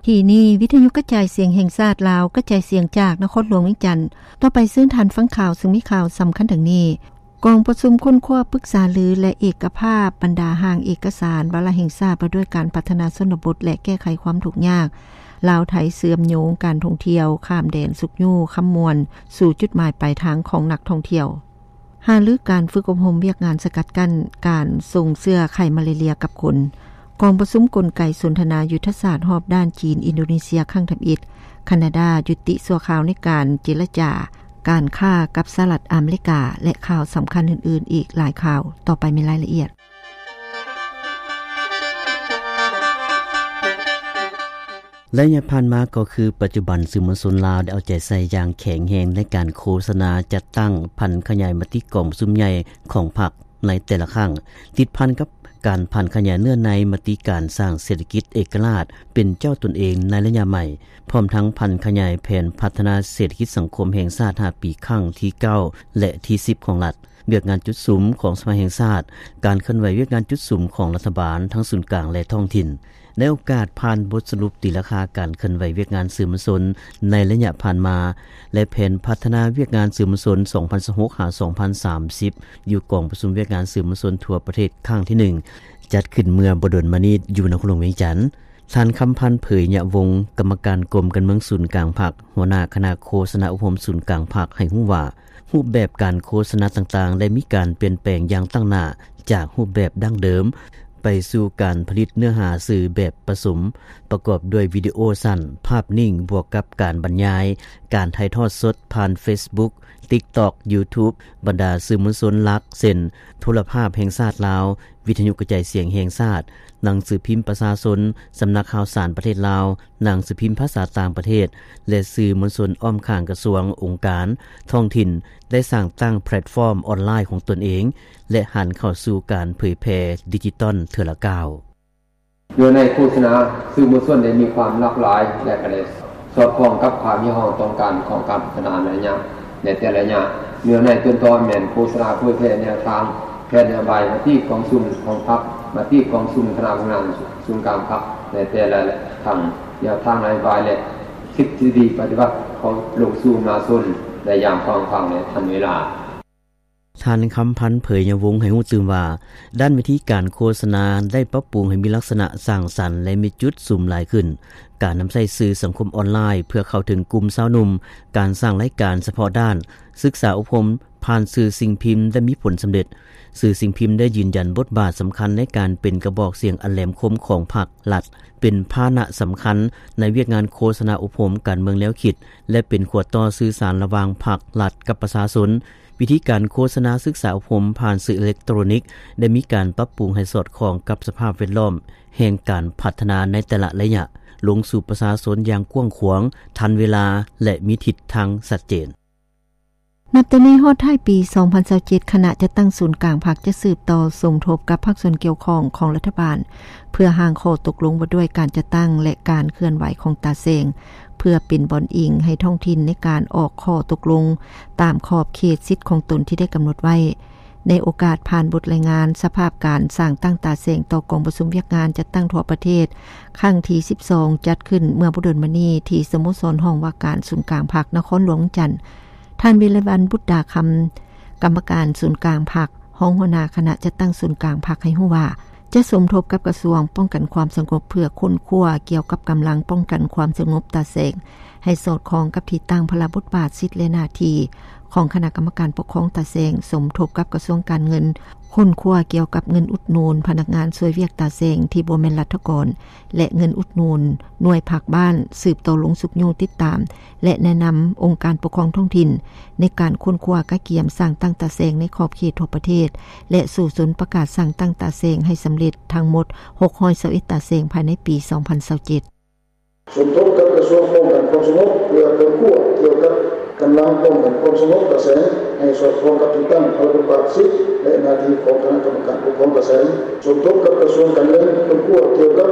ທີ່ນີ້ ວິທຍຸກະຈາຍສຽງແຫ່ງຊາດລາວ ກະຈາຍສຽງຈາກນະຄອນຫຼວງວຽງຈັນ. ຕໍ່ໄປເຊີນທ່ານຟັງຂ່າວ ຊຶ່ງມີຂ່າວສຳຄັນດັ່ງນີ້: ກອງປະຊຸມຄົ້ນຄວ້າປຶກສາລື ແລະ ເອກະພາບບັນດາຮ່າງເອກະສານວາລະແຫ່ງຊາດ ວ່າດ້ວຍການພັດທະນາຊົນນະບົດ ແລະ ແກ້ໄຂຄວາມທຸກຍາກ ລາວ-ໄທ ເຊື່ອມໂຍງການທ່ອງທ່ຽວຂ້າມແດນ ຊຸກຍູ້ຄຳມ່ວນສູ່ຈຸດໝາຍປາຍທາງຂອງນັກທ່ອງທ່ຽວ. ຫາລືການຝຶກອົບຮົມວຽກງານສະກັດກັ້ນການສົ່ງເຊື້ອໄຂ້ມາເລເຣຍກັບຄົນ. ກອງປະຊຸມກົນໄກສົນທະນາຍຸດທະສາດຮອບດ້ານຈີນ-ອິນໂດເນເຊຍຄັ້ງທຳອິດ. ຄານາດາຢຸດຕິຊົ່ວຄາວໃນການເຈລະຈາການຄ້າກັບສະຫະລັດອາເມລິກາ ແລະ ຂ່າວສຳຄັນອື່ນໆອີກຫຼາຍຂ່າວ. ຕໍ່ໄປມີລາຍລະອຽດ. ໄລຍະຜ່ານມາກໍຄືປັດຈຸບັນ ສື່ມວນຊົນລາວໄດ້ເອົາໃຈໃສ່ຢ່າງແຂງແຮງໃນການໂຄສະນາຈັດຕັ້ງຜັນຂະຫຍາຍມະຕິກອງປະຊຸມໃຫຍ່ຂອງພັກໃນແຕ່ລະຄັ້ງ, ຕິດພັນກັບການຜັນຂະຫຍາຍເນື້ອໃນມະຕິການສ້າງເສດຖະກິດເອກະລາດເປັນເຈົ້າຕົນເອງໃນໄລຍະໃໝ່, ພ້ອມທັງຜັນຂະຫຍາຍແຜນພັດທະນາເສດຖະກິດສັງຄົມແຫ່ງຊາດຫ້າປີຄັ້ງທີເກົ້າ ແລະ ທີສິບຂອງລັດ. ວຽກງານຈຸດສຸມຂອງສະພາແຫ່ງຊາດ, ການເຄື່ອນໄຫວວຽກງານຈຸດສຸມຂອງລັດຖະບານທັງສູນກາງ ແລະ ທ້ອງຖິ່ນ. ໃນໂອກາດຜ່ານບົດສະຫຼຸບຕີລາຄາການເຄື່ອນໄຫວວຽກງານສື່ມວນຊົນໃນໄລຍະຜ່ານມາ ແລະ ແຜນພັດທະນາວຽກງານສື່ມວນຊົນ ສອງພັນຊາວຫົກ ຫາ ສອງພັນສາມສິບ ຢູ່ກອງປະຊຸມວຽກງານສື່ມວນຊົນທົ່ວປະເທດຄັ້ງທີໜຶ່ງ ຈັດຂຶ້ນເມື່ອບໍ່ດົນມານີ້ຢູ່ນະຄອນຫຼວງວຽງຈັນ. ທ່ານ ຄຳພັນ ເຜີຍຍະວົງ ກຳມະການກົມການເມືອງສູນກາງພັກ, ຫົວໜ້າຄະນະໂຄສະນາອົບຮົມສູນກາງພັກ ໃຫ້ຮູ້ວ່າ ຮູບແບບການໂຄສະນາຕ່າງໆ ໄດ້ມີການປ່ຽນແປງຢ່າງຕັ້ງໜ້າຈາກຮູບແບບດັ້ງເດີມ ໄປສູ່ການຜະລິດເນື້ອຫາສື່ແບບປະສົມ, ປະກອບດ້ວຍວິດີໂອສັ້ນ, ພາບນິ້ງ ບວກກັບການບັນຍາຍ, ການຖ່າຍທອດສົດຜ່ານເຟສບຸກ, ຕິກຕັອກ, ຢູທູບ, ບັນດາສື່ມວນຊົນຫຼັກ ເຊັ່ນ ໂທລະພາບແຫ່ງຊາດລາວ, ວິທະຍຸກະຈາຍສຽງແຫ່ງຊາດ, ໜັງສືພິມປະຊາຊົນ, ສຳນັກຂ່າວສານປະເທດລາວ, ໜັງສືພິມພາສາຕ່າງປະເທດ ແລະ ສື່ມວນຊົນອ້ອມຂ້າງກະຊວງ, ອົງການທ້ອງຖິ່ນ ໄດ້ສ້າງຕັ້ງແພລດຟອມອອນລາຍຂອງຕົນເອງ ແລະ ຫັນເຂົ້າສູ່ການເຜີຍແຜ່ດິຈິຕອນເທື່ອລະກ້າວ. ເນື້ອໃນໂຄສະນາສື່ມວນຊົນໄດ້ມີຄວາມຫຼາກຫຼາຍ ແລະ ກະໄດ້ສອດຄ່ອງກັບຄວາມຮຽກຮ້ອງຕ້ອງການຂອງການພັດທະນາໃນໄລຍະ ໃນແຕ່ລະໄລຍະ. ເນື້ອໃນຕົ້ນຕໍແມ່ນໂຄສະນາເຜີຍແຜ່ແນວທາງ, ແຜນນະໂຍບາຍ, ມະຕິກອງປະຊຸມຂອງພັກ, ມະຕິກອງປະຊຸມຄະນະບໍລິຫານສູນກາງພັກໃນແຕ່ລະຄັ້ງ, ແນວທາງນະໂຍບາຍ ແລະ ທິດທິດີປະຕິບັດເຂົ້າລົງສູ່ມະຫາຊົນໃນຍາມກວ້າງຂວາງ ແລະ ທັນເວລາ. ທ່ານ ຄຳພັນ ເຜີຍຍະວົງ ໃຫ້ຮູ້ຕື່ມວ່າ ດ້ານວິທີການໂຄສະນາໄດ້ປັບປຸງໃຫ້ມີລັກສະນະສ້າງສັນ ແລະ ມີຈຸດສຸມຫຼາຍຂຶ້ນ, ການນຳໃຊ້ສື່ສັງຄົມອອນລາຍເພື່ອເຂົ້າເຖິງກຸ່ມຊາວໜຸ່ມ, ການສ້າງລາຍການສະເພາະດ້ານ, ສຶກສາອົບຮົມຜ່ານສື່ສິ່ງພິມໄດ້ມີຜົນສຳເລັດ. ສື່ສິ່ງພິມໄດ້ຢືນຢັນບົດບາດສຳຄັນໃນການເປັນກະບອກສຽງອັນແຫຼມຄົມຂອງພັກລັດ, ເປັນພາຫະນະສຳຄັນໃນວຽກງານໂຄສະນາອົບຮົມການເມືອງແນວຄິດ ແລະ ເປັນຂົວຕໍ່ສື່ສານລະຫວ່າງພັກລັດກັບປະຊາຊົນ. ວິທີການໂຄສະນາສຶກສາອົບຮົມຜ່ານສື່ເອເລັກໂຕຣນິກໄດ້ມີການປັບປຸງໃຫ້ສອດຄ່ອງກັບສະພາບແວດລ້ອມແຫ່ງການພັດທະນາໃນແຕ່ລະໄລຍະ, ລົງສູ່ປະຊາຊົນຢ່າງກວ້າງຂວາງ, ທັນເວລາ ແລະ ມີທິດທາງຊັດເຈນ. ນັບແຕ່ນີ້ຮອດທ້າຍປີສອງພັນຊາວເຈັດ ຄະນະຈັດຕັ້ງສູນກາງພັກຈະສືບຕໍ່ສົມທົບກັບພາກສ່ວນກ່ຽວຂ້ອງຂອງລັດຖະບານ ເພື່ອຮ່າງຂໍ້ຕົກລົງວ່າດ້ວຍການຈັດຕັ້ງ ແລະ ການເຄື່ອນໄຫວຂອງຕາແສງ ເພື່ອເປັນບ່ອນອີງໃຫ້ທ້ອງຖິ່ນໃນການອອກຂໍ້ຕົກລົງຕາມຂອບເຂດສິດຂອງຕົນທີ່ໄດ້ກຳນົດໄວ້. ໃນໂອກາດຜ່ານບົດລາຍງານສະພາບການສ້າງຕັ້ງຕາແສງຕໍ່ກອງປະຊຸມວຽກງານຈັດຕັ້ງທົ່ວປະເທດ ຄັ້ງທີສິບສອງ ຈັດຂຶ້ນເມື່ອບໍ່ດົນມານີ້ທີ່ສະໂມສອນຫ້ອງວ່າການສູນກາງພັກນະຄອນຫຼວງວຽງຈັນ, ທ່ານ ວິໄລວັນ ບຸດດາຄຳ ກຳມະການສູນກາງພັກ, ຮອງຫົວໜ້າຄະນະຈັດຕັ້ງສູນກາງພັກ ໃຫ້ຮູ້ວ່າ ຈະສົມທົບກັບກະຊວງປ້ອງກັນຄວາມສະຫງົບ ເພື່ອຄົ້ນຄວ້າກ່ຽວກັບກຳລັງປ້ອງກັນຄວາມສະຫງົບຕາແສງ ໃຫ້ສອດຄ່ອງກັບທີ່ຕັ້ງ, ພາລະ, ບົດບາດ, ສິດ ແລະ ໜ້າທີ່ຂອງຄະນະກຳມະການປົກຄອງຕາແສງ, ສົມທົບກັບກະຊວງການເງິນ, ຄົ້ນຄວ້າກ່ຽວກັບເງິນອຸດໜູນພະນັກງານຊ່ວຍວຽກຕາແສງທີ່ບໍ່ແມ່ນລັດຖະກອນ ແລະ ເງິນອຸດໜູນໜ່ວຍພັກບ້ານ, ສືບຕໍ່ລົງຊຸກຍູ້ຕິດຕາມ ແລະ ແນະນຳອົງການປົກຄອງທ້ອງຖິ່ນໃນການຄົ້ນຄວ້າກະກຽມສ້າງຕັ້ງຕາແສງໃນຂອບເຂດທົ່ວປະເທດ ແລະ ສູ້ຊົນປະກາດສ້າງຕັ້ງຕາແສງໃຫ້ສຳເລັດທັງໝົດຫົກຮ້ອຍຊາວເອັດຕາແສງພາຍໃນປີສອງພັນຊາວເຈັດ. ສົມທົບກັບກະຊວງປ້ອງກັນຄວາມສະຫງົບ ເພື່ອຄົ້ນຄວ້າກ່ຽວກັບກຳລັງປ້ອງກັນຄວາມສະຫງົບຕາແສງ ໃຫ້ສອດຄ່ອງກັບທີ່ຕັ້ງ, ພາລະ, ບົດບາດ, ສິດ ແລະ ໜ້າທີ່ຂອງຄະນະກຳມະການປົກຄອງຕາແສງ. ສົມທົບກັບກະຊວງການເງິນ ຄົ້ນຄວ້າກ່ຽວກັບ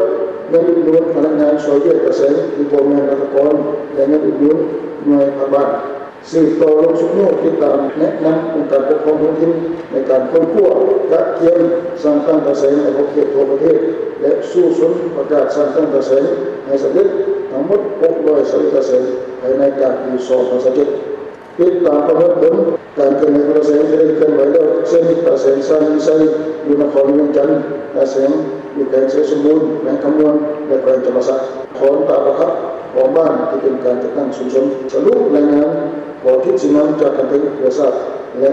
ເງິນອຸດໜູນພະນັກງານຊ່ວຍວຽກຕາແສງທີ່ບໍ່ແມ່ນລັດຖະກອນ ແລະ ເງິນອຸດໜູນໜ່ວຍພັກບ້ານ. ສືບຕໍ່ລົງຊຸກຍູ້ຕິດຕາມ, ແນະນຳອົງການປົກຄອງທ້ອງຖິ່ນໃນການຄົ້ນຄວ້າກະກຽມສ້າງຕັ້ງຕາແສງໃນຂອບເຂດທົ່ວປະເທດ. ແລະສູ້ຊົນປະກາດສ້າງຕັ້ງຕາແສງໃຫ້ສຳເລັດທັງໝົດ ຫົກຮ້ອຍຊາວເອັດຕາແສງ ພາຍໃນກາງປີສອງພັນຊາວເຈັດ. ຕິດຕາມປະເມີນຜົນການເຄື່ອນໄຫວຂອງຕາແສງ ທີ່ໄດ້ເຄື່ອນໄຫວແລ້ວເຊັ່ນ ຕາແສງຊານວິໄຊ ຢູ່ນະຄອນຫຼວງວຽງຈັນ, ຕາແສງຢູ່ແຂວງໄຊສົມບູນ, ແຂວງຄຳມ່ວນ ແລະ ແຂວງຈຳປາສັກ, ຖອນຕາປະທັບຂອງບ້ານທີ່ເປັນການຈັດຕັ້ງຊຸມຊົນ. ສະຫຼຸບລາຍງານ ຂໍທິດຊີ້ນຳຈາກຂັ້ນເທິງເພື່ອຊາບ ແລະ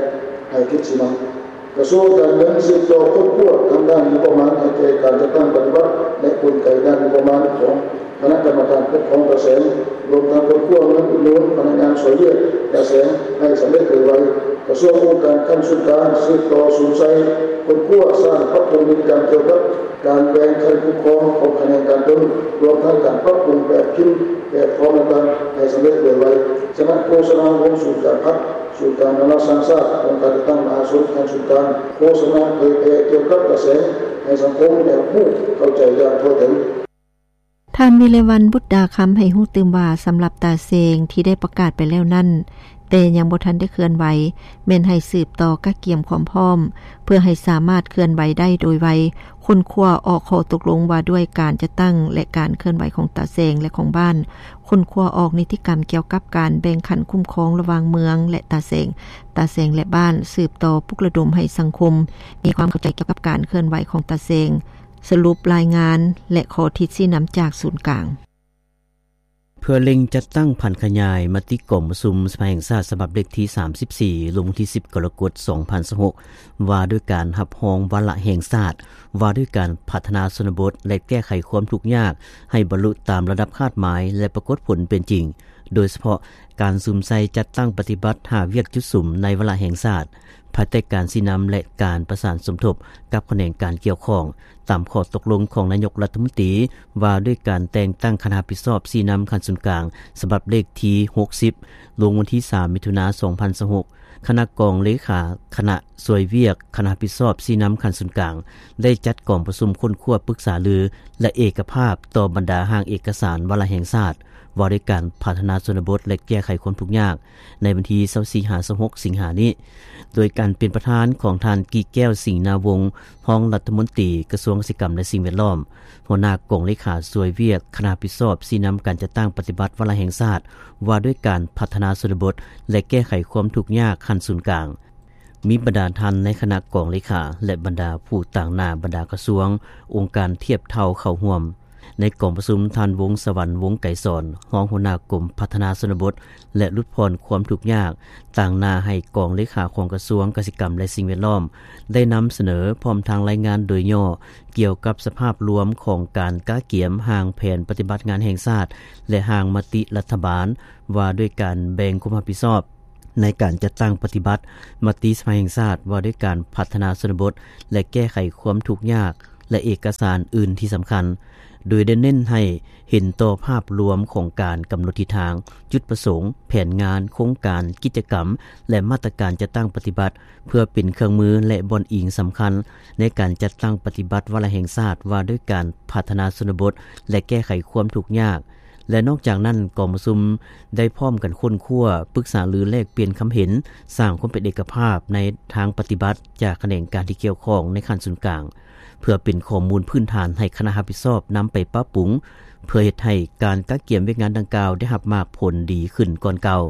ໃຫ້ທິດຊີ້ນຳ. ກະຊວງການເງິນສືບຕໍ່ຄົ້ນຄວ້າທາງດ້ານງົບປະມານໃຫ້ແກ່ການຈັດຕັ້ງປະຕິບັດ ແລະ ກົນໄກດ້ານງົບປະມານຂອງຄະນະກຳມະການປົກຄອງຕາແສງ, ລວມທັງຄົ້ນຄວ້າເງິນອຸດໜູນພະນັກງານຊ່ວຍວຽກຕາແສງໃຫ້ສຳເລັດໂດຍໄວ. ກະຊວງອົງການຂັ້ນສູນກາງສືບຕໍ່ສຸມໃສ່ຄົ້ນຄວ້າ, ສ້າງປັບປຸງນິຕິກຳກ່ຽວກັບການແບ່ງຂັ້ນຄຸ້ມຄອງຂອງຂະແໜງການຕົນ, ລວມທັງການປັບປຸງແບບພິມ, ແບບຟອມຕ່າງໆໃຫ້ສຳເລັດໂດຍໄວ. ສະນັ້ນ ໂຄສະນາວົງສູນກາງພັກ, ສູນກາງນານາຊາດ, ອົງການຈັດຕັ້ງມະຫາຊົນຂັ້ນສູນກາງ ໂຄສະນາເຜີຍແຜ່ກ່ຽວກັບກະແສໃຫ້ສັງຄົມໄດ້ຮູ້ເຂົ້າໃຈຢ່າງທົ່ວເຖິງ. ທ່ານ ວິໄລວັນ ບຸດດາຄຳ ໃຫ້ຮູ້ຕື່ມວ່າ ສຳລັບຕາແສງທີ່ໄດ້ປະກາດໄປແລ້ວນັ້ນ ແຕ່ຍັງບໍ່ທັນໄດ້ເຄື່ອນໄຫວ ແມ່ນໃຫ້ສືບຕໍ່ກະກຽມຄວາມພ້ອມ ເພື່ອໃຫ້ສາມາດເຄື່ອນໄຫວໄດ້ໂດຍໄວ, ຄົ້ນຄວ້າອອກຂໍ້ຕົກລົງວ່າດ້ວຍການຈັດຕັ້ງ ແລະ ການເຄື່ອນໄຫວຂອງຕາແສງ ແລະ ຂອງບ້ານ, ຄົ້ນຄວ້າອອກນິຕິກຳກ່ຽວກັບການແບ່ງຂັ້ນຄຸ້ມຄອງລະຫວ່າງເມືອງ ແລະ ຕາແສງ, ຕາແສງ ແລະ ບ້ານ, ສືບຕໍ່ປຸກລະດົມໃຫ້ສັງຄົມມີຄວາມເຂົ້າໃຈກ່ຽວກັບການເຄື່ອນໄຫວຂອງຕາແສງ, ສະຫຼຸບລາຍງານ ແລະ ຂໍທິດຊີ້ນຳຈາກສູນກາງ. ເພື່ອເລັ່ງຈັດຕັ້ງຜັນຂະຫຍາຍມະຕິກອງປະຊຸມສະພາແຫ່ງຊາດສະບັບເລກທີສາມສິບສີ່ ລົງວັນທີສິບ ກໍລະກົດ ສອງພັນຊາວຫົກ ວ່າດ້ວຍການຮັບຮອງວາລະແຫ່ງຊາດ ວ່າດ້ວຍການພັດທະນາຊົນນະບົດ ແລະ ແກ້ໄຂຄວາມທຸກຍາກໃຫ້ບັນລຸຕາມລະດັບຄາດໝາຍ ແລະ ປາກົດຜົນເປັນຈິງ, ໂດຍສະເພາະການສຸມໃສ່ຈັດຕັ້ງປະຕິບັດຫ້າວຽກຈຸດສຸມໃນວາລະແຫ່ງຊາດ ພາຍໃຕ້ການຊີ້ນຳ ແລະ ການປະສານສົມທົບກັບຂະແໜງການກ່ຽວຂ້ອງ ຕາມຂໍ້ຕົກລົງຂອງນາຍົກລັດຖະມົນຕີ ວ່າດ້ວຍການແຕ່ງຕັ້ງຄະນະຮັບຜິດຊອບຊີ້ນຳຂັ້ນສູນກາງ ສະບັບເລກທີຫົກສິບ ລົງວັນທີສາມ ມິຖຸນາ ສອງພັນຊາວຫົກ, ຄະນະກອງເລຂາຄະນະຊ່ວຍວຽກຄະນະຮັບຜິດຊອບຊີ້ນຳຂັ້ນສູນກາງ ໄດ້ຈັດກອງປະຊຸມຄົ້ນຄວ້າປຶກສາລື ແລະ ເອກະພາບຕໍ່ບັນດາຮ່າງເອກະສານວາລະແຫ່ງຊາດ ວ່າດ້ວຍການພັດທະນາຊົນນະບົດ ແລະ ແກ້ໄຂຄວາມທຸກຍາກ ໃນວັນທີຊາວສີ່ ຫາ ຊາວຫົກ ສິງຫານີ້ ໂດຍການເປັນປະທານຂອງທ່ານ ກິແກ້ວ ສິງນາວົງ ຮອງລັດຖະມົນຕີກະຊວງກະສິກຳ ແລະ ສິ່ງແວດລ້ອມ, ຫົວໜ້າກອງເລຂາຊ່ວຍວຽກຄະນະຮັບຜິດຊອບຊີ້ນຳການຈັດຕັ້ງປະຕິບັດວາລະແຫ່ງຊາດ ວ່າດ້ວຍການພັດທະນາຊົນນະບົດ ແລະ ແກ້ໄຂຄວາມທຸກຍາກຂັ້ນສູນກາງ, ມີບັນດາທ່ານໃນຄະນະກອງເລຂາ ແລະ ບັນດາຜູ້ຕາງໜ້າບັນດາກະຊວງ, ອົງການທຽບເທົ່າເຂົ້າຮ່ວມ. ໃນກອງປະຊຸມ, ທ່ານ ວົງສະຫວັນ ວົງໄກສອນ ຮອງຫົວໜ້າກົມພັດທະນາຊົນນະບົດ ແລະ ຫຼຸດຜ່ອນຄວາມທຸກຍາກ ຕາງໜ້າໃຫ້ກອງເລຂາຂອງກະຊວງກະສິກຳ ແລະ ສິ່ງແວດລ້ອມ ໄດ້ນຳສະເໜີ ພ້ອມທັງລາຍງານໂດຍຫຍໍ້ ກ່ຽວກັບສະພາບລວມຂອງການກະກຽມຮ່າງແຜນປະຕິບັດງານແຫ່ງຊາດ ແລະ ຮ່າງມະຕິລັດຖະບານ ວ່າດ້ວຍການແບ່ງຄວາມຮັບຜິດຊອບ ໃນການຈັດຕັ້ງປະຕິບັດມະຕິສະພາແຫ່ງຊາດ ວ່າດ້ວຍການພັດທະນາຊົນນະບົດ ແລະ ແກ້ໄຂຄວາມທຸກຍາກ ແລະ ເອກະສານອື່ນທີ່ສຳຄັນ, ໂດຍໄດ້ເນັ້ນໃຫ້ເຫັນຕໍ່ພາບລວມຂອງການກຳນົດທິດທາງ, ຈຸດປະສົງ, ແຜນງານ, ໂຄງການ, ກິດຈະກຳ ແລະ ມາດຕະການຈັດຕັ້ງປະຕິບັດ ເພື່ອເປັນເຄື່ອງມື ແລະ ບ່ອນອີງສຳຄັນໃນການຈັດຕັ້ງປະຕິບັດວາລະແຫ່ງຊາດ ວ່າດ້ວຍການພັດທະນາຊົນນະບົດ ແລະ ແກ້ໄຂຄວາມທຸກຍາກ. ແລະ ນອກຈາກນັ້ນ, ກອງປະຊຸມໄດ້ພ້ອມກັນຄົ້ນຄວ້າ, ປຶກສາລື, ແລກປ່ຽນຄຳເຫັນ, ສ້າງຄວາມເປັນເອກະພາບໃນທາງປະຕິບັດຈາກຂະແໜງການທີ່ກ່ຽວຂ້ອງໃນຂັ້ນສູນກາງ, ເພື່ອເປັນຂໍ້ມູນພື້ນຖານໃຫ້ຄະນະຮັບຜິດຊອບນຳໄປປັບປຸງ, ເພື່ອເຮັດໃຫ້ການກະກຽມວຽກງານດັ່ງກ່າວໄດ້ຮັບໝາກຜົນດີຂຶ້ນກ່ອນເກົ່າ,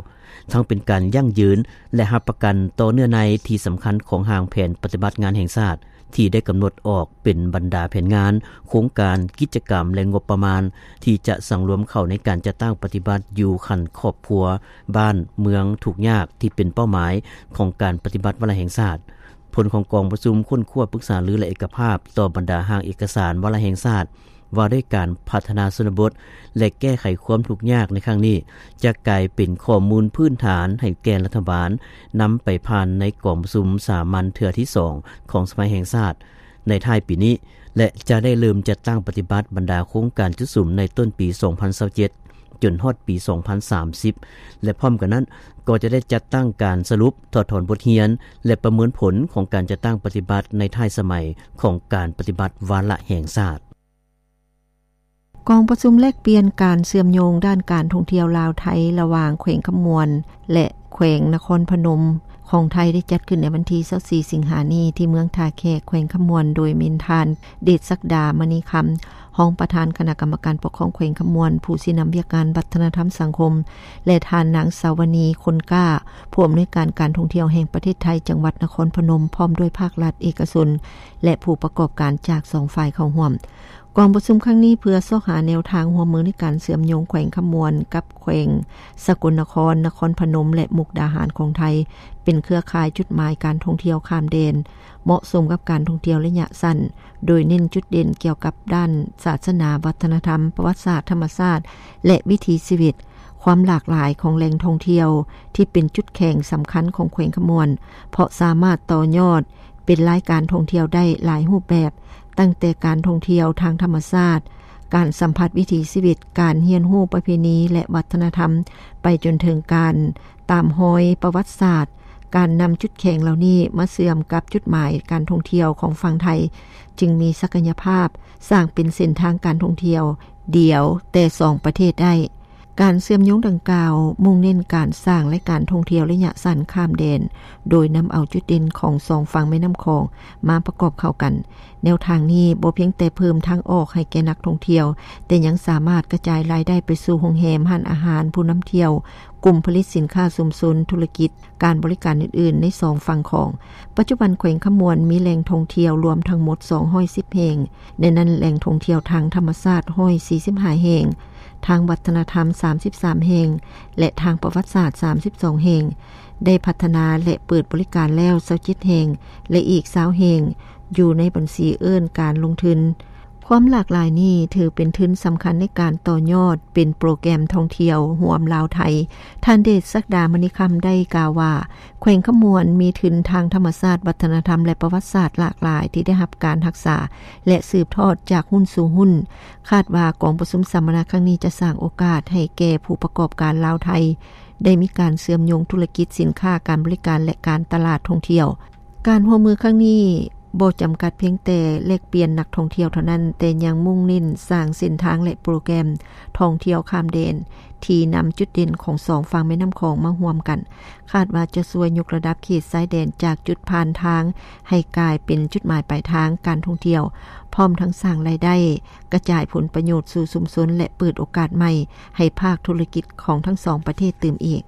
ທັງເປັນການຢັ້ງຢືນ ແລະ ຮັບປະກັນຕໍ່ເນື້ອໃນທີ່ສຳຄັນຂອງຮ່າງແຜນປະຕິບັດງານແຫ່ງຊາດ ທີ່ໄດ້ກຳນົດອອກເປັນບັນດາແຜນງານ, ໂຄງການ, ກິດຈະກຳ ແລະ ງົບປະມານ ທີ່ຈະສັງລວມເຂົ້າໃນການຈັດຕັ້ງປະຕິບັດຢູ່ຂັ້ນຄອບຄົວ, ບ້ານ, ເມືອງ, ທຸກຍາກ ທີ່ເປັນເປົ້າໝາຍຂອງການປະຕິບັດວາລະແຫ່ງຊາດ. ຜົນຂອງກອງປະຊຸມຄົ້ນຄວ້າ, ປຶກສາລື ແລະ ເອກະພາບຕໍ່ບັນດາຮ່າງເອກະສານວາລະແຫ່ງຊາດ ວ່າດ້ວຍການພັດທະນາຊົນນະບົດ ແລະ ແກ້ໄຂຄວາມທຸກຍາກໃນຄັ້ງນີ້ ຈະກາຍເປັນຂໍ້ມູນພື້ນຖານໃຫ້ແກ່ລັດຖະບານນຳໄປຜ່ານໃນກອງປະຊຸມສາມັນເທື່ອທີສອງຂອງສະພາແຫ່ງຊາດໃນທ້າຍປີນີ້ ແລະ ຈະໄດ້ເລີ່ມຈັດຕັ້ງປະຕິບັດບັນດາໂຄງການຈຸດສຸມໃນຕົ້ນປີສອງພັນຊາວເຈັດ ຈົນຮອດປີສອງພັນສາມສິບ ແລະ ພ້ອມກັນນັ້ນກໍຈະໄດ້ຈັດຕັ້ງການສະຫຼຸບ, ຖອດຖອນບົດຮຽນ ແລະ ປະເມີນຜົນຂອງການຈັດຕັ້ງປະຕິບັດໃນທ້າຍສະໄໝຂອງການປະຕິບັດວາລະແຫ່ງຊາດ. ກອງປະຊຸມແລກປ່ຽນການເຊື່ອມໂຍງດ້ານການທ່ອງທ່ຽວລາວໄທ ລະຫວ່າງແຂວງຄຳມ່ວນ ແລະ ແຂວງນະຄອນພະນົມຂອງໄທ ໄດ້ຈັດຂຶ້ນໃນວັນທີຊາວສີ່ ສິງຫານີ້ ທີ່ເມືອງທ່າແຂກ ແຂວງຄຳມ່ວນ ໂດຍແມ່ນທ່ານ ເດດສັກດາ ມະນີຄຳ ຮອງປະທານຄະນະກຳມະການປົກຄອງແຂວງຄຳມ່ວນ, ຜູ້ຊີ້ນຳວຽກງານວັດທະນະທຳສັງຄົມ ແລະ ທ່ານນາງ ສາວະນີ ຄົນກ້າ ຜູ້ອຳນວຍການການທ່ອງທ່ຽວແຫ່ງປະເທດໄທ ຈັງຫວັດນະຄອນພະນົມ ພ້ອມດ້ວຍພາກລັດ, ເອກະຊົນ ແລະ ຜູ້ປະກອບການຈາກສອງຝ່າຍເຂົ້າຮ່ວມ. ກອງປະຊຸມຄັ້ງນີ້ເພື່ອຊອກຫາແນວທາງຮ່ວມມືໃນການເຊື່ອມໂຍງແຂວງຄຳມ່ວນກັບແຂວງສະກົນນະຄອນ, ນະຄອນພະນົມ ແລະ ມຸກດາຫານຂອງໄທ ເປັນເຄືອຂ່າຍຈຸດໝາຍການທ່ອງທ່ຽວຂ້າມແດນ ເໝາະສົມກັບການທ່ອງທ່ຽວໄລຍະສັ້ນ, ໂດຍເນັ້ນຈຸດເດັ່ນກ່ຽວກັບດ້ານສາສະໜາ, ວັດທະນະທຳ, ປະຫວັດສາດ, ທຳມະຊາດ ແລະ ວິຖີຊີວິດ, ຄວາມຫຼາກຫຼາຍຂອງແຫຼ່ງທ່ອງທ່ຽວທີ່ເປັນຈຸດແຂງສຳຄັນຂອງແຂວງຄຳມ່ວນ, ເພາະສາມາດຕໍ່ຍອດ ເປັນລາຍການທ່ອງທ່ຽວໄດ້ຫຼາຍຮູບແບບ, ຕັ້ງແຕ່ການທ່ອງທ່ຽວທາງທຳມະຊາດ, ການສຳຜັດວິຖີຊີວິດ, ການຮຽນຮູ້ປະເພນີ ແລະ ວັດທະນະທຳ, ໄປຈົນເຖິງການຕາມຮອຍປະຫວັດສາດ. ການນຳຈຸດແຂງເຫຼົ່ານີ້ມາເຊື່ອມກັບຈຸດໝາຍການທ່ອງທ່ຽວຂອງຝັ່ງໄທ ຈຶ່ງມີສັກກະຍະພາບສ້າງເປັນເສັ້ນທາງການທ່ອງທ່ຽວດຽວແຕ່ສອງປະເທດໄດ້. ການເຊື່ອມໂຍງດັ່ງກ່າວ ມຸ່ງເນັ້ນການສ້າງລາຍການທ່ອງທ່ຽວໄລຍະສັ້ນຂ້າມແດນ, ໂດຍນຳເອົາຈຸດເດັ່ນຂອງສອງຝັ່ງແມ່ນ້ຳຂອງມາປະກອບເຂົ້າກັນ. ແນວທາງນີ້ບໍ່ພຽງແຕ່ເພີ່ມທາງອອກໃຫ້ແກ່ນັກທ່ອງທ່ຽວ, ແຕ່ຍັງສາມາດກະຈາຍລາຍໄດ້ໄປສູ່ໂຮງແຮມ, ຮ້ານອາຫານ, ຜູ້ນຳທ່ຽວ, ກຸ່ມຜະລິດສິນຄ້າຊຸມຊົນ, ທຸລະກິດ, ການບໍລິການອື່ນໆໃນສອງຝັ່ງຂອງ. ປັດຈຸບັນແຂວງຄຳມ່ວນມີແຫຼ່ງທ່ອງທ່ຽວລວມທັງໝົດສອງຮ້ອຍສິບແຫ່ງ, ໃນນັ້ນແຫຼ່ງທ່ອງທ່ຽວທາງທຳມະຊາດຮ້ອຍສີ່ສິບຫ້າແຫ່ງ, ທາງວັດທະນະທຳສາມສິບສາມແຫ່ງ ແລະ ທາງປະຫວັດສາດສາມສິບສອງແຫ່ງ, ໄດ້ພັດທະນາ ແລະ ເປີດບໍລິການແລ້ວຊາວເຈັດແຫ່ງ ແລະ ອີກຊາວແຫ່ງຢູ່ໃນບັນຊີເອີ້ນການລົງທຶນ. ຄວາມຫຼາກຫຼາຍນີ້ຖືເປັນທຶນສຳຄັນໃນການຕໍ່ຍອດເປັນໂປຣແກຣມທ່ອງທ່ຽວຮ່ວມລາວ-ໄທ. ທ່ານເດດສັກດາ ມະນີຄຳ ໄດ້ກ່າວວ່າ ແຂວງຄຳມ່ວນມີທຶນທາງທຳມະຊາດ, ວັດທະນະທຳ ແລະ ປະຫວັດສາດຫຼາກຫຼາຍທີ່ໄດ້ຮັບການຮັກສາ ແລະ ສືບທອດຈາກຮຸ່ນສູ່ຮຸ່ນ. ຄາດວ່າກອງປະຊຸມສຳມະນາຄັ້ງນີ້ຈະສ້າງໂອກາດໃຫ້ແກ່ຜູ້ປະກອບການລາວ-ໄທ ໄດ້ມີການເຊື່ອມໂຍງທຸລະກິດ, ສິນຄ້າ, ການບໍລິການ ແລະ ການຕະຫຼາດທ່ອງທ່ຽວ. ການຮ່ວມມືຄັ້ງນີ້ບໍ່ຈຳກັດພຽງແຕ່ແລກປ່ຽນນັກທ່ອງທ່ຽວເທົ່ານັ້ນ, ແຕ່ຍັງມຸ່ງເນັ້ນສ້າງເສັ້ນທາງ ແລະ ໂປຣແກຣມທ່ອງທ່ຽວຂ້າມແດນ ທີ່ນຳຈຸດເດັ່ນຂອງສອງຝັ່ງແມ່ນ້ຳຂອງມາຮ່ວມກັນ. ຄາດວ່າຈະຊ່ວຍຍົກລະດັບເຂດຊາຍແດນຈາກຈຸດຜ່ານທາງໃຫ້ກາຍເປັນຈຸດໝາຍປາຍທາງການທ່ອງທ່ຽວ, ພ້ອມທັງສ້າງລາຍໄດ້, ກະຈາຍຜົນປະໂຫຍດສູ່ຊຸມຊົນ ແລະ ເປີດໂອກາດໃໝ່ໃຫ້ພາກທຸລະກິດຂອງທັງສອງປະເທດຕື່ມອີກ.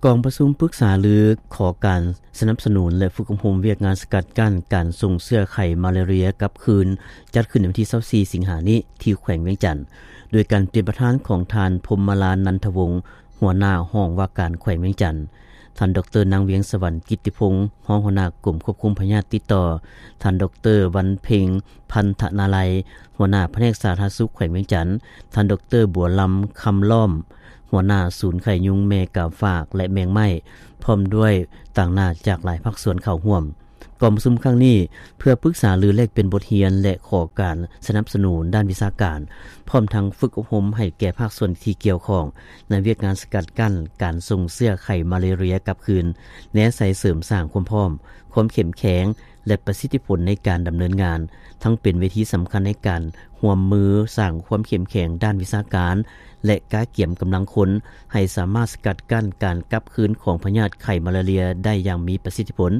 ກອງປະຊຸມປຶກສາລືຂໍການສະໜັບສະໜູນ ແລະ ຝຶກອົບຮົມວຽກງານສະກັດກັ້ນການສົ່ງເຊື້ອໄຂ້ມາລາເຣຍກັບຄືນ ຈັດຂຶ້ນໃນວັນທີຊາວສີ່ ສິງຫານີ້ ທີ່ແຂວງວຽງຈັນ ໂດຍການເປັນປະທານຂອງທ່ານ ພົມມະລານ ນັນທະວົງ ຫົວໜ້າຫ້ອງວ່າການແຂວງວຽງຈັນ, ທ່ານ ດອກເຕີ ນາງ ວຽງສະຫວັນ ກິດຕິພົງ ຮອງຫົວໜ້າກົມຄວບຄຸມພະຍາດຕິດຕໍ່, ທ່ານ ດອກເຕີ ວັນເພັງ ພັນທະນາໄລ ຫົວໜ້າພະແນກສາທາລະນະສຸກແຂວງວຽງຈັນ, ທ່ານ ດອກເຕີ ບົວລຳ ຄຳລ້ອມ ຫົວໜ້າສູນໄຂ້ຍຸງແມ່ກາຝາກ ແລະ ແມງໄມ້ ພ້ອມດ້ວຍຕາງໜ້າຈາກຫຼາຍພາກສ່ວນເຂົ້າຮ່ວມ. ກອງປະຊຸມຄັ້ງນີ້ເພື່ອປຶກສາລືແລກປ່ຽນບົດຮຽນ ແລະ ຂໍການສະໜັບສະໜູນດ້ານວິຊາການ, ພ້ອມທັງຝຶກອົບຮົມໃຫ້ແກ່ພາກສ່ວນທີ່ກ່ຽວຂ້ອງໃນວຽກງານສະກັດກັ້ນການສົ່ງເຊື້ອໄຂ້ມາລາເຣຍກັບຄືນ, ແນໃສ່ເສີມສ້າງຄວາມພ້ອມ, ຄວາມເຂັ້ມແຂງ ແລະ ປະສິດທິຜົນໃນການດຳເນີນງານ, ທັງເປັນເວທີສຳຄັນໃນການຮ່ວມມືສ້າງຄວາມເຂັ້ມແຂງດ້ານວິຊາການ ແລະ ກະກຽມກຳລັງຄົນ ໃຫ້ສາມາດສະກັດກັ້ນການກັບຄືນຂອງພະຍາດໄຂ້ມາລາເຣຍໄດ້ຢ່າງມີປະສິດທິຜົນ.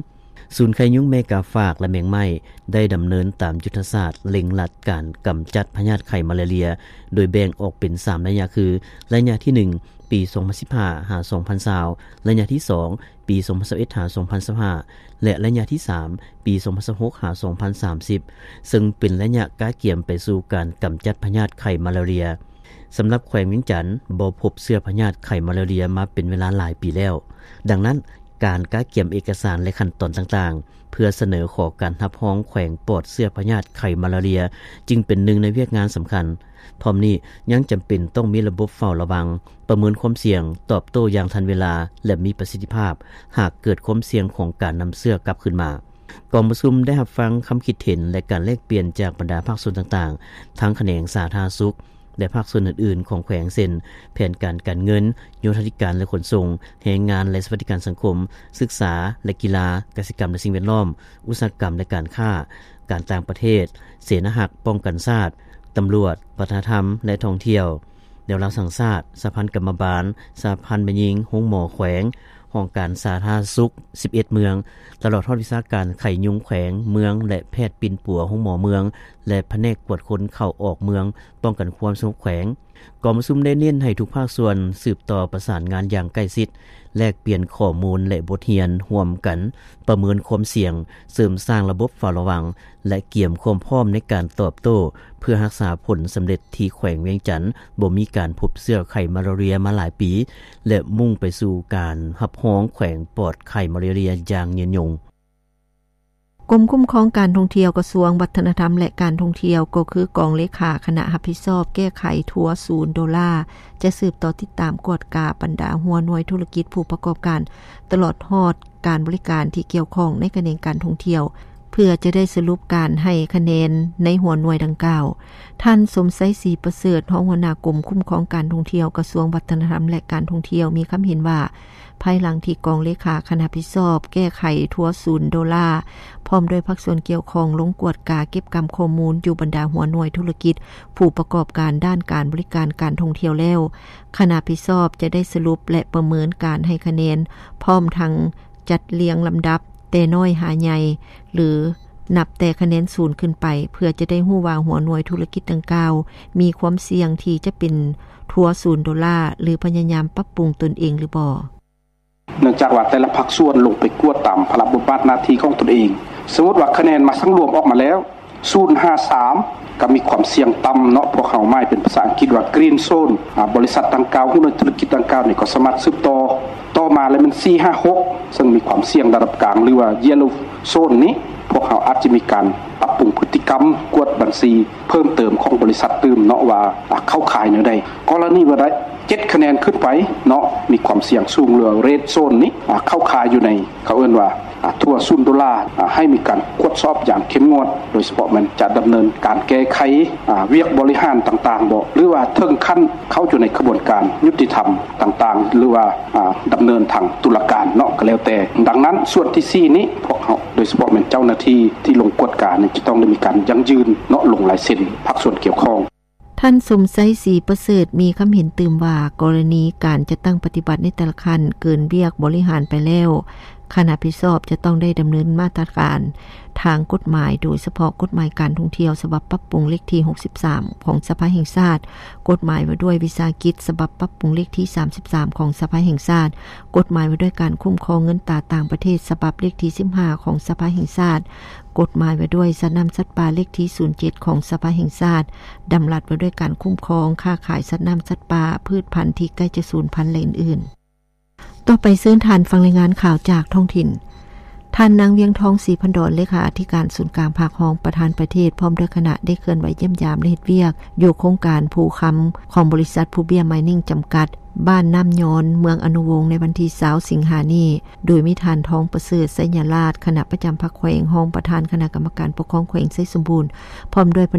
ສູນໄຂ້ຍຸງແມ່ກາຝາກ ແລະ ແມງໄມ້ ໄດ້ດຳເນີນຕາມຍຸດທະສາດເລັ່ງລັດການກຳຈັດພະຍາດໄຂ້ມາລາເຣຍ ໂດຍແບ່ງອອກເປັນສາມໄລຍະຄື ໄລຍະທີໜຶ່ງ ປີສອງພັນສິບຫ້າ ຫາ ສອງພັນຊາວ, ໄລຍະທີສອງ ປີສອງພັນຊາວເອັດ ຫາ ສອງພັນຊາວຫ້າ ແລະ ໄລຍະທີສາມ ປີສອງພັນຊາວຫົກ ຫາ ສອງພັນສາມສິບ ເຊິ່ງເປັນໄລຍະກະກຽມໄປສູ່ການກຳຈັດພະຍາດໄຂ້ມາລາເຣຍ. ສຳລັບແຂວງວຽງຈັນ ບໍ່ພົບເຊື້ອພະຍາດໄຂ້ມາລາເຣຍມາເປັນເວລາຫຼາຍປີແລ້ວ. ດັ່ງນັ້ນ, ການກະກຽມເອກະສານ ແລະ ຂັ້ນຕອນຕ່າງໆ ເພື່ອສະເໜີຂໍການຮັບຮອງແຂວງປອດເຊື້ອພະຍາດໄຂ້ມາລາເຣຍ ຈຶ່ງເປັນໜຶ່ງໃນວຽກງານສຳຄັນ. ພ້ອມນີ້, ຍັງຈຳເປັນຕ້ອງມີລະບົບເຝົ້າລະວັງ, ປະເມີນຄວາມສ່ຽງ, ຕອບໂຕ້ຢ່າງທັນເວລາ ແລະ ມີປະສິດທິພາບ ຫາກເກີດຄວາມສ່ຽງຂອງການນຳເຊື້ອກັບຄືນມາ. ກອງປະຊຸມໄດ້ຮັບຟັງຄຳຄິດເຫັນ ແລະ ການແລກປ່ຽນຈາກບັນດາພາກສ່ວນຕ່າງໆ ທັງຂະແໜງສາທາລະນະສຸກ ແລະ ພາກສ່ວນອື່ນໆຂອງແຂວງ ເຊັ່ນ ແຜນການການເງິນ, ໂຍທາທິການ ແລະ ຂົນສົ່ງ, ແຮງງານ ແລະ ສະຫວັດດີການສັງຄົມ, ສຶກສາ ແລະ ກິລາ, ກະສິກຳ ແລະ ສິ່ງແວດລ້ອມ, ອຸດສາຫະກຳ ແລະ ການຄ້າ, ການຕ່າງປະເທດ, ເສນາຮັກປ້ອງກັນຊາດ, ຕຳຫຼວດ, ວັດທະນະທຳ ແລະ ທ່ອງທ່ຽວ. ແນວລາວສ້າງຊາດ, ສະຫະພັນກຳມະບານ, ສະຫະພັນແມ່ຍິງໂຮງໝໍແຂວງ, ຫ້ອງການສາທາລະນະສຸກສິບເອັດເມືອງ, ຕະຫຼອດຮອດວິຊາການໄຂ້ຍຸງແຂວງ, ເມືອງ ແລະ ແພດປິ່ນປົວໂຮງໝໍເມືອງ ແລະ ພະແນກກວດຄົນເຂົ້າອອກເມືອງ, ປ້ອງກັນຄວາມສະຫງົບແຂວງ. ກອງປະຊຸມໄດ້ເນັ້ນໃຫ້ທຸກພາກສ່ວນສືບຕໍ່ປະສານງານຢ່າງໃກ້ຊິດ, ແລກປ່ຽນຂໍ້ມູນ ແລະ ບົດຮຽນຮ່ວມກັນ, ປະເມີນຄວາມສ່ຽງ, ເສີມສ້າງລະບົບເຝົ້າລະວັງ ແລະ ກຽມຄວາມພ້ອມໃນການຕອບໂຕ້ ເພື່ອຮັກສາຜົນສຳເລັດທີ່ແຂວງວຽງຈັນບໍ່ມີການພົບເຊື້ອໄຂ້ມາລາເຣຍມາຫຼາຍປີ ແລະ ມຸ່ງໄປສູ່ການຮັບຮອງແຂວງປອດໄຂ້ມາລາເຣຍຢ່າງຍືນຍົງ. ກົມຄຸ້ມຄອງການທ່ອງທ່ຽວ ກະຊວງວັດທະນະທຳ ແລະ ການທ່ອງທ່ຽວ ກໍຄືກອງເລຂາຄະນະຮັບຜິດຊອບແກ້ໄຂທົວສູນໂດລາ ຈະສືບຕໍ່ຕິດຕາມກວດກາບັນດາຫົວໜ່ວຍທຸລະກິດຜູ້ປະກອບການ ຕະຫຼອດຮອດການບໍລິການທີ່ກ່ຽວຂ້ອງໃນຂະແໜງການທ່ອງທ່ຽວ ເພື່ອຈະໄດ້ສະຫຼຸບການໃຫ້ຄະແນນໃນຫົວໜ່ວຍດັ່ງກ່າວ. ທ່ານ ສົມໄຊ ສີປະເສີດ, ຮອງຫົວໜ້າກົມຄຸ້ມຄອງການທ່ອງທ່ຽວ ກະຊວງວັດທະນະທຳ ແລະ ການທ່ອງທ່ຽວ ມີຄຳເຫັນວ່າ ພາຍຫຼັງທີ່ກອງເລຂາຄະນະຮັບຜິດຊອບແກ້ໄຂທົວສູນໂດລາ ພ້ອມດ້ວຍພາກສ່ວນກ່ຽວຂ້ອງລົງກວດກາເກັບກຳຂໍ້ມູນຢູ່ບັນດາຫົວໜ່ວຍທຸລະກິດຜູ້ປະກອບການດ້ານການບໍລິການການທ່ອງທ່ຽວແລ້ວ, ຄະນະຮັບຜິດຊອບຈະໄດ້ສະຫຼຸບ ແລະ ປະເມີນການໃຫ້ຄະແນນ ພ້ອມທັງຈັດລຽງລຳດັບແຕ່ນ້ອຍຫາໃຫຍ່ ຫຼື ນັບແຕ່ຄະແນນສູນຂຶ້ນໄປ ເພື່ອຈະໄດ້ຮູ້ວ່າຫົວໜ່ວຍທຸລະກິດດັ່ງກ່າວມີຄວາມສ່ຽງທີ່ຈະເປັນທົວສູນໂດລາ ຫຼື ພະຍາຍາມປັບປຸງຕົນເອງຫຼືບໍ່. ເນື່ອງຈາກວ່າແຕ່ລະພາກສ່ວນລົງໄປກວດຕາມພາລະບົດບາດໜ້າທີ່ຂອງຕົນເອງ. ສົມມຸດວ່າຄະແນນມາສັງລວມອອກມາແລ້ວ ສູນຫາສາມ ກໍມີຄວາມສ່ຽງຕ່ຳເນາະ, ພວກເຮົາໝາຍເປັນພາສາອັງກິດວ່າ Green Zone. ອາ ບໍລິສັດດັ່ງກ່າວ, ຫົວໜ່ວຍທຸລະກິດດັ່ງກ່າວນີ້ກໍສາມາດສືບຕໍ່, ຕໍ່ມາແລ້ວແມ່ນສີ່ຫາຫົກ ເຊິ່ງມີຄວາມສ່ຽງລະດັບກາງ ຫຼືວ່າ Yellow Zone ນີ້ ພວກເຮົາອາດຈະມີການປັບປຸງພຶດຕິກຳ, ກວດບັນຊີເພີ່ມເຕີມຂອງບໍລິສັດຕື່ມເນາະ ວ່າ ອາ ເຂົ້າຂ່າຍແນວໃດ. ກໍລະນີວ່າໄດ້ ເຈັດຄະແນນຂຶ້ນໄປເນາະ ມີຄວາມສ່ຽງສູງ ຫຼື Red Zone ນີ້ ອາ ເຂົ້າຂ່າຍຢູ່ໃນ ເຂົາເອີ້ນວ່າ ອາ ທົວສູນໂດລາ, ອາ ໃຫ້ມີການກວດສອບຢ່າງເຂັ້ມງວດ, ໂດຍສະເພາະແມ່ນຈະດຳເນີນການແກ້ໄຂ ອາ ວຽກບໍລິຫານຕ່າງໆບໍ ຫຼືວ່າເຖິງຂັ້ນເຂົ້າຢູ່ໃນຂະບວນການຍຸຕິທຳຕ່າງໆ ຫຼືວ່າ ອາ ດຳເນີນທາງຕຸລາການເນາະ ກໍແລ້ວແຕ່. ດັ່ງນັ້ນ ສ່ວນທີສີ່ນີ້ ພວກເຮົາ ໂດຍສະເພາະແມ່ນເຈົ້າໜ້າທີ່ທີ່ລົງກວດການີ້ ຈະຕ້ອງໄດ້ມີການຢັ້ງຢືນເນາະ ລົງລາຍເຊັນພາກສ່ວນກ່ຽວຂ້ອງ. ທ່ານ ສົມໄຊ ສີປະເສີດ ມີຄຳເຫັນຕື່ມວ່າ ກໍລະນີການຈັດຕັ້ງປະຕິບັດໃນແຕ່ລະຂັ້ນເກີນວຽກບໍລິຫານໄປແລ້ວ, ຄະນະຮັບຜິດຊອບຈະຕ້ອງໄດ້ດຳເນີນມາດຕະການທາງກົດໝາຍ, ໂດຍສະເພາະກົດໝາຍການທ່ອງທ່ຽວ ສະບັບປັບປຸງເລກທີຫົກສິບສາມ ຂອງສະພາແຫ່ງຊາດ, ກົດໝາຍວ່າດ້ວຍວິສາຫະກິດ ສະບັບປັບປຸງເລກທີສາມສິບສາມ ຂອງສະພາແຫ່ງຊາດ, ກົດໝາຍວ່າດ້ວຍການຄຸ້ມຄອງເງິນຕາຕ່າງປະເທດ ສະບັບເລກທີສິບຫ້າ ຂອງສະພາແຫ່ງຊາດ, ກົດໝາຍວ່າດ້ວຍສັດນ້ຳສັດປ່າເລກທີສູນເຈັດ ຂອງສະພາແຫ່ງຊາດ, ດຳລັດວ່າດ້ວຍການຄຸ້ມຄອງຄ້າຂາຍສັດນ້ຳສັດປ່າ, ພືດພັນທີ່ໃກ້ຈະສູນພັນ ແລະ ອື່ນໆ. ຕໍ່ໄປເຊີນທ່ານຟັງລາຍງານຂ່າວຈາກທ້ອງຖິ່ນ. ທ່ານນາງ ວຽງທອງ ສີພັນດອນ ເລຂາທິການສູນກາງພັກ, ຮອງປະທານປະເທດ ພ້ອມດ້ວຍຄະນະ ໄດ້ເຄື່ອນໄຫວຢ້ຽມຢາມ ແລະ ເຮັດວຽກຢູ່ໂຄງການພູຄຳ ຂອງບໍລິສັດພູເບຍມາຍນິງ ຈຳກັດ ບ້ານນ້ຳຍອນ ເມືອງອະນຸວົງ ໃນວັນທີຊາວ ສິງຫານີ້. ໂດຍມີທ່ານ ທອງປະເສີດ ໄຊຍະລາດ ຄະນະປະຈຳພັກແຂວງ, ຮອງປະທານຄະນະກຳມະການປົກຄອງແຂວງໄຊສົມບູນ ພ້ອມດ້ວຍພະແນ